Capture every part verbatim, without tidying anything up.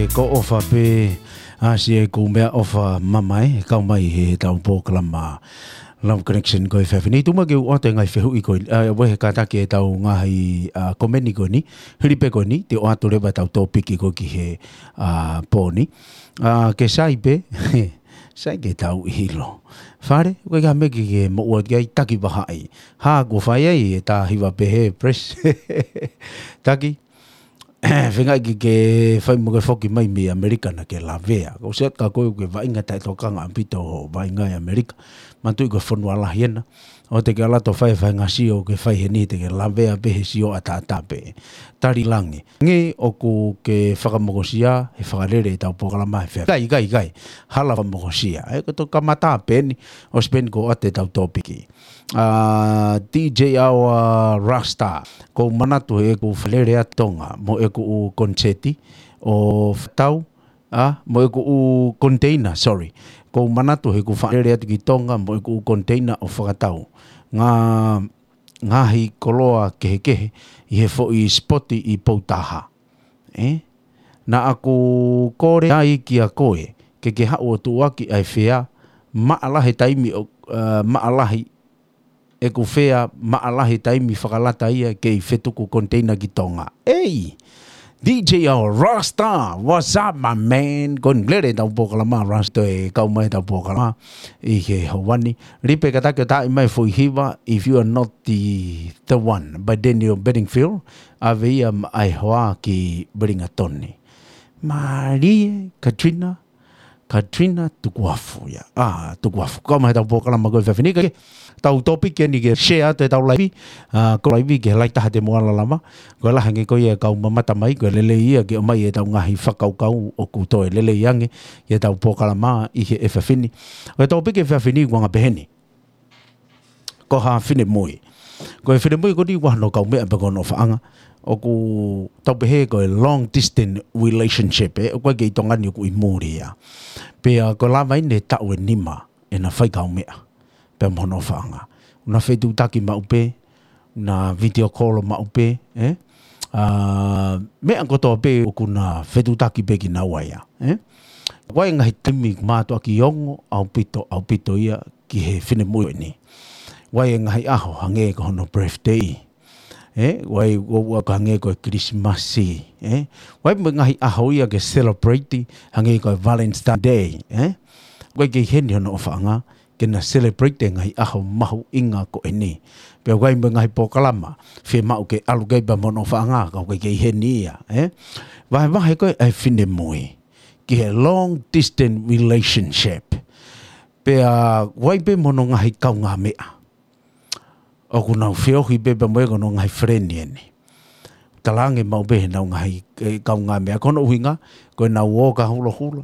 Ko ʻofa pē, ʻa, siʻeku meʻaʻofa mamae, kau mai he tau polokalama Love Connection ko e efiafi ni. Tuku muʻa ke u ʻoatu e ngaahi fehuʻi ko eni, ʻa, ʻoku ʻi he kātaki e tau ngaahi, ʻa, komeni ko eni, hili pē ko eni, te u ʻoatu leva e tau tōpiki ko ē ki he, ʻa, pō ni. ʻA, ke sai pē, sai ke tau ʻilo. Fale, ʻoku ʻikai ha meʻa ke ke moʻua ki ai, Taki Vahaʻi. Hā, kuo fai ai e tā hiva pehē, press. Taki, feinga ke ke fai mo ke foki mai mei ʻAmelika naʻa ke lavea. Ko siat ka koe ke vaʻinga taʻetokanga ʻaupito ʻo vaʻinga ʻi ʻAmelika. Manatuʻi ko e fonua lahi ena. ʻOua te ke ʻalu atu ʻo fai e faʻahinga sio ʻoku ke fai heni, te ke lavea pē he sio ʻataʻatā pē. Tali langi. Hangē ʻoku ke fakamokosia he fakalele e tau polokalama he efiafi. ʻIkai, ʻikai, ʻikai. Hala fakamokosia. ʻE, ko e toki kamata pē eni, ʻosi pē eni kuo ʻoatu e tau tōpiki. ʻA, D J Awa Rasta, ʻoku ou manatu heʻeku fakalele atu ki Tonga mo ʻeku ʻū koniseti ʻo fakatau, ʻa, mo ʻeku ʻū koniteina, sorry. ʻOku ou manatu heʻeku fakalele atu ki Tonga mo ʻeku ʻū koniteina ʻo fakatau ngaahi koloa kehekehe ʻi he foʻi sipoti ʻi Poutaha. ʻE? Naʻa ku kole ai kia koe ke ke haʻu ʻo tuʻuaki ʻa e fea maʻa lahi taimi ʻo, ʻa, maʻa lahi ʻeku fea maʻa lahi taimi fakalata ia kei fetuku koniteina ki Tonga. Ei! D J L Rasta, what's up, my man? Ko e lele tau polokalama, Rasta e kau mai tau polokalama ʻi he houa ni. Lipe kataki ʻo taaʻi mai foʻi hiva, If You Are Not The, The One, by Daniel Bedingfield, ʻave ia maʻa e hoa ki Wellington. Mālie, Katrina, Katrina Tukuafu ia. ʻA, Tukuafu. Kau mai tau polokalama ko e efiafi ni ke tau tōpiki eni ke share atu e tau laivi. ʻA, ko e laivi ke lahi taha te mou ala lava. Ko e lahi ange ko ia e kau mamata mai, ko e lelei ia ke ʻomai e tau ngaahi fakakaukau ʻoku toe lelei ange ʻi he tau polokalama ʻi he efiafi ni. Ko e tōpiki efiafi ni ʻoku anga pehē ni. Ko ha finemui. Ko e finemui ko eni ʻoku ʻi ai hano kaumeʻa pea ko hono ʻofaʻanga. ʻOku tau pehē ko e long distance relationship, ʻe, ʻoku ʻikai ke ʻi Tonga ni, ʻoku ʻi muli ia. Pea ko e lava eni e taʻu ʻe nima ʻena fai kaumeʻa pea mo hono ʻofaʻanga. ʻOku na fetuʻutaki maʻu pē, na video call maʻu pē, ʻe? ʻA, meʻa kotoa pē ʻoku na fetuʻutaki pē kinaua ia, ʻe? ʻOku ʻi ai e ngaahi taimi ʻoku mātuʻaki ongo ʻaupito, ʻaupito ia ki he finemui eni. ʻOku ʻi ai e ngaahi ʻaho hangē ko hono birthday, ʻe? ʻOku ʻi ai, ʻoku, ʻoku hangē ko e Kilisimasi, ʻe? ʻOku ʻi ai mo e ngaahi ʻaho ia ke celebrate hangē ko e Valentine Day, ʻe? ʻOku ʻikai ke ʻi heni hono ʻofaʻanga ke na celebrate e ngaahi ʻaho mahuʻinga ko eni. Pea ʻoku ʻi ai mo e ngaahi polokalama fiemaʻu ke ʻalu ki ai pea mo hono ʻofaʻanga, ka ʻoku ʻikai ke ʻi heni ia, ʻe? Vahevahe ko ē ʻa e finemui ki he long distance relationship. Pea ʻoku ʻi ai pē mo hono ngaahi kaungāmeʻa ʻoku nau feohi pē pea mo e ko hono ngaahi friend eni. Talaange maʻu pē heʻenau ngaahi, ʻe, kaungāmeʻa. Ko hono ʻuhinga, ko ʻenau ō ki ha hulohula,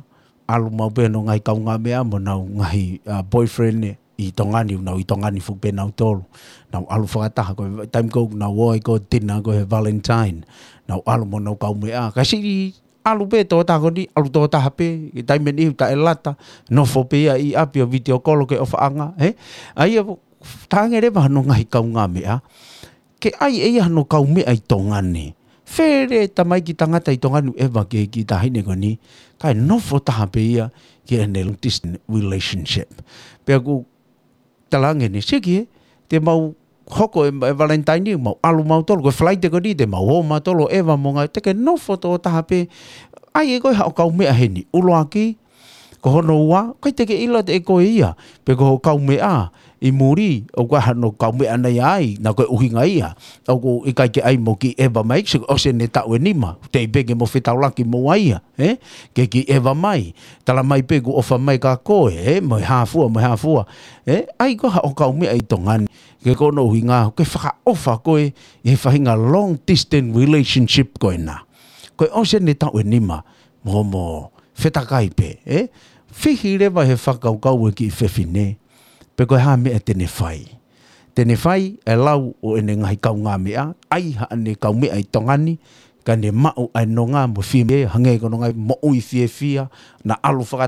ʻalu maʻu pē hono ngaahi kaungāmeʻa mo ʻenau ngaahi, ʻa, boyfriend ʻi Tonga ni, ʻoku nau ʻi Tonga ni foki pē nautolu. Nau ʻalu fakataha, ko e taimi ko ē ʻoku nau ō ai ko e tina ko e Valentine, nau ʻalu mo ʻenau kaumeʻa. Ka siʻi ʻalu pē tokotaha ko eni, ʻalu tokotaha pē, ʻi he taimi ʻe niʻihi taʻelata, nofo pē ia ʻi ʻapi ʻo video call ki he ʻofaʻanga, ʻe? ʻA ia, talaange leva hono ngaahi kaungāmeʻa ke ʻai ʻe ia hano kaumeʻa ʻi Tonga ni. Fele tamaiki tangata ʻi Tonga ni ʻeva ki he kiʻi taʻahine ko eni, kae nofo taha pē ia ki heʻene long distance relationship. Pea ʻoku talaange eni, siki ē, te mau hoko e, e Valentine ni, mau ʻalu mautolu, ko e Falaite ko eni, te mau ō mautolu ʻeva mo e ngaahi, te ke nofo tokotaha pē, ʻai ʻe koe haʻo kaumeʻa heni, ʻuluaki, ko hono ua, ʻikai te ke ʻilo ʻe koe ia, pe ko hoʻo kaumeʻa ʻi muli, ʻoku ʻi ai hano kaumeʻa naʻe ʻi ai, naʻa ko e ʻuhinga ia, ʻoku ʻikai ke ʻai mo kiʻi ʻeva mai, sio ʻosi ʻene taʻu ʻe nima, teʻeki pē ke mo fetaulaki mo ia, ʻe? Ke kiʻi ʻeva mai, tala mai pē kuo ʻofa mai kia koe, ʻe? Mo e hā fua, mo e hā fua, ʻe? ʻAi koe haʻo kaumeʻa ʻi Tonga ni, ke ko hono ʻuhinga, ke fakaʻofa koe ʻi he faʻahinga long distance relationship ko ena. Ko e ʻosi ʻene taʻu ʻe nima, mo, mo fetakai pē, ʻe? Fihi leva he fakakaukau e kiʻi fefine, pe ko e hā e meʻa te ne fai. Te ne fai e lau ʻo ʻene ngaahi kaungāmeʻa, ʻai haʻane kaumeʻa ʻi Tonga ni, kae ne maʻu ʻa e nonga mo e fiemālie, hangē ko hono ngaahi moʻui fiefia, na ʻalu faka